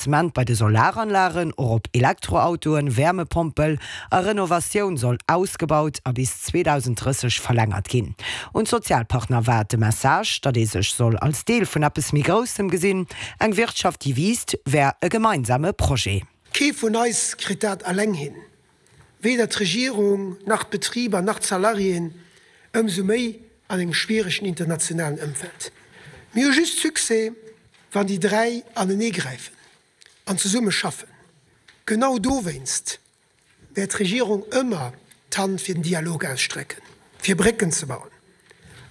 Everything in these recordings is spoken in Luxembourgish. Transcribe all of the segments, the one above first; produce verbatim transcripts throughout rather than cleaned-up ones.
Investissement bei de Solaranlagen, och op Elektroautoen, Wäermepompel a Renovatioun soll ausgebaut a bis zweedausenddrësseg verlängert ginn. Un d'Sozialpartner war de Message, datt ee sech soll als Deel vun eppes méi Groussem gesinn. Eng Wirtschaft, déi wiisst, wär e gemeinsame Projet. Kee vun eis kritt dat eleng hin, weder d'Regierung, nach d'Betriber, nach d'Salariéen, ëmsou méi an engem schwieregen internationalen Ëmfeld. Mir hu just Succès, wann déi dräi aneneegräifen an zesumme schaffen. Genau dowéinst wäert d'Regierung ëmmer d'Hand fir den Dialog ausstrecken, fir Brécken ze bauen,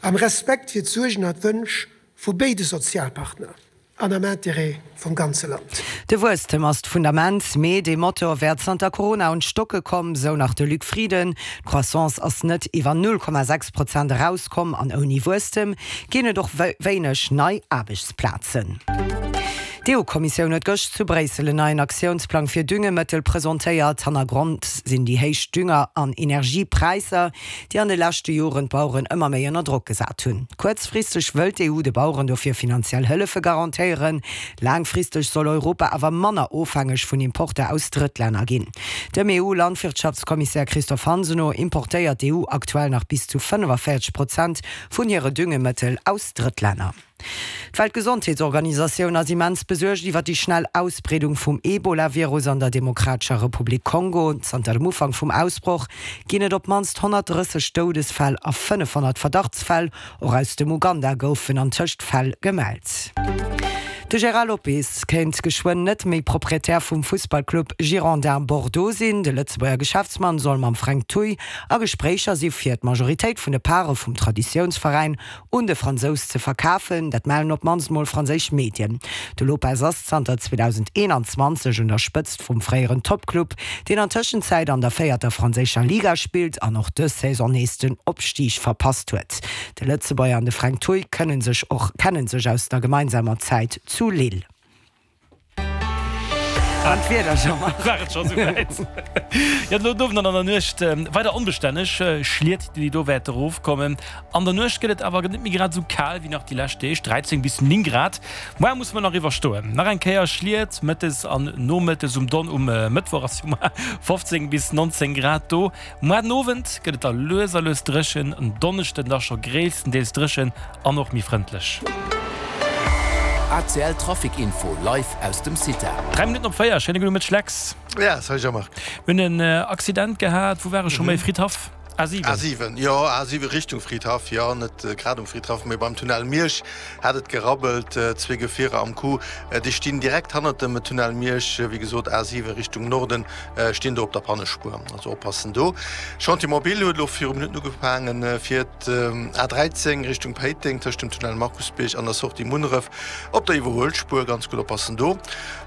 am Respekt fir d'Suergen an d'Wënsch vu béide Sozialpartner an am Interêt vum ganze Land. De Wuesstem ass d'Fundament, mee dee Motor wär zanter Corona un d'Stocke komm, sou nach de Luc Frieden. D'Croissance ass net iwwer null Komma sechs Prozent erauskomm an ouni Wuesstem ginn et och wéineg nei Aarbechtsplazen. D'EU-Kommissioun huet gëscht zu Bréissel en neien Aktiounsplang fir Düngemëttel presentéiert. Hannergrond sinn déi héich Dünger an Energiepräisser, déi an de leschte Joren d'Baueren ëmmer méi ënner Drock gesat hunn. Kuerzfristeg wëll d'EU de Baueren dofir finanziell Hëllefe garantéieren. Laangfristeg soll Europa awer manner ofhängeg vun Importer aus Drëttlänner ginn. Dem EU-Landwirtschaftskommissär Christophe Hansen no importéiert d'EU aktuell nach bis zu fënnefavéierzeg Prozent vun hire Düngemëttel aus Drëttlänner. D'Weltgesondheetsorganisatioun ass immens besuergt iwwer déi schnell Ausbreedung vum Ebola-Virus an der Demokratescher Republik Kongo. Zanter dem Ufank vum Ausbroch ginn et op d'mannst honnertdrësseg Doudesfäll a fënnefhonnert Verdachtsfäll. Och aus dem Uganda goufen antëscht Fäll gemellt. De Gérard Lopez kéint geschwënn net méi Proprietär vum Fussballclub Girondins Bordeaux sinn. De Lëtzebuerger Geschäftsmann soll mam Fränk Thuy a Gespréicher si fir d'Majoritéit vun de Pare vum Traditiounsveräin un de Fransous ze verkafen. Dat mellen op d'mannst mol franséisch Medien. De Lopez ass zanter zweedausendeenanzwanzeg un der Spëtzt vum fréieren Toppclub, deen an Tëschenzäit an der véierter franséischer Liga spillt an och dës Saison nees den Opstig verpasst huet. De Lëtzebuerger an de Fränk Thuy kënne sech och kennen sech aus der gemeinsamer Zäit zu Lille. An d'Wieder, Jean-Marc? War et scho souwäit? Jo, elo den Owend an an der Nuecht weider onbestänneg Schliet, déi do wäerte erofkommen. An der Nuecht gëtt et awer net méi grad esou kal wéi nach déi lescht Deeg, dräizéng bis néng Grad. Moar musse mer nach iwwerstoen. Nach eng Kéier Schliet mëttes an nomëttes um Don. Um Mëttwoch ass jo moar fofzéng bis nonzéng Grad do. Moar den Owend gëtt et da lues a lues dréchen, en Donneschden da scho gréisstendeels dréchen an och méi frëndlech. A C L Trafic Info live aus dem CITA. Dräi Minutten op véier, schéine gudde Mëtteg Lex. Ja, salut Jean-Marc. Mir hunn en Accident gehat, wou war ech scho méi? Fridhaff? A siwen. A siwen, jo, A siwen Richtung Fridhaff, jo, net grad um Fridhaff, mee beim Tunnel Miersch hat et gerabbelt, zwee Gefierer am Coup, déi stinn direkt hannert dem Tunnel Miersch, wéi gesot A siwen Richtung Norden, stinn do op der Pannespuer, also oppassen do. Chantier mobile huet elo viru Minutten ugefaangen, fir d'A dräizéng Richtung Péiteng tëscht dem Tunnel Markusbierg an der Sortie Munneref op der Iwwerhuelspuer, ganz gutt oppassen do.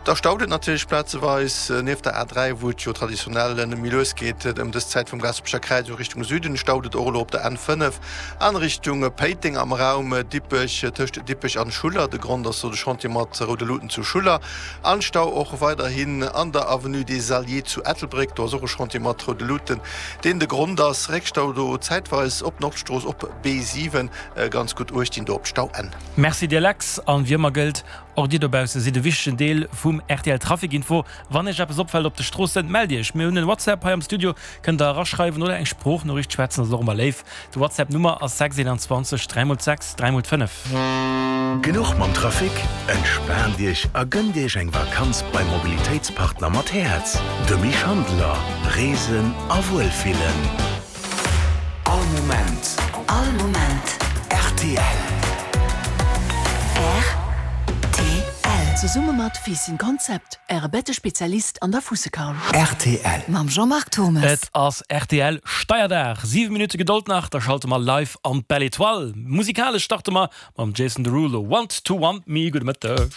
Da staut et natierlech plazeweis nieft der A dräi, wou et jo traditionell net méi lues geet ëm dës Zäit vum Gaasperecher Kräiz u Richtung Süden staut et och elo op der N fënnef an Richtung Péiteng am Raum Dippech, tëscht Dippech an Schuller. De Grond ass do de Chantier mat roude Luuten zu Schuller. An Stau och weiderhin an der Avenue des Alliés zu Ettelbréck. Do ass och e Chantier mat roude Luuten, deen de Grond ass. Réckstau do zäitweis op Nordstrooss op B siwen. Ganz gutt Uecht dinn do op d'Stauenn. Merci dir Lex, an wéi ëmmer gëllt, och dir dobausse sidd e wichtegen Deel vum R T L Trafic Info. Wann iech eppes opfält op de Stroossen, mellt iech. Mir hunn en WhatsApp hei am Studio, kënnt der eraschreiwen oder eng Sproochnoriicht schwätzen, ass och ëmmer léif. De WhatsApp Nummer ass sechs eenanzwanzeg dräi mol sechs dräi mol fënnef. Genuch mam Trafic? Entspaant Iech a gënnt Iech eng Vakanz beim Mobilitéitspartner mat Häerz, de Mich Handeler. Reesen a Wuelfillen. All Moment. All Moment. R T L. R T L. Zesumme mat Fiissen Concept, Äre Bettespezialist an der Fuussekaul. R T L. Mam Jean-Marc Thommes. Et ass R T L Steierdag. Siwe Minutte Gedold nach, da schalte mer live an d'Belle Etoile. Musikalesch starte mer mam Jason Derulo, Want to Want Me. Gudde Mëtteg.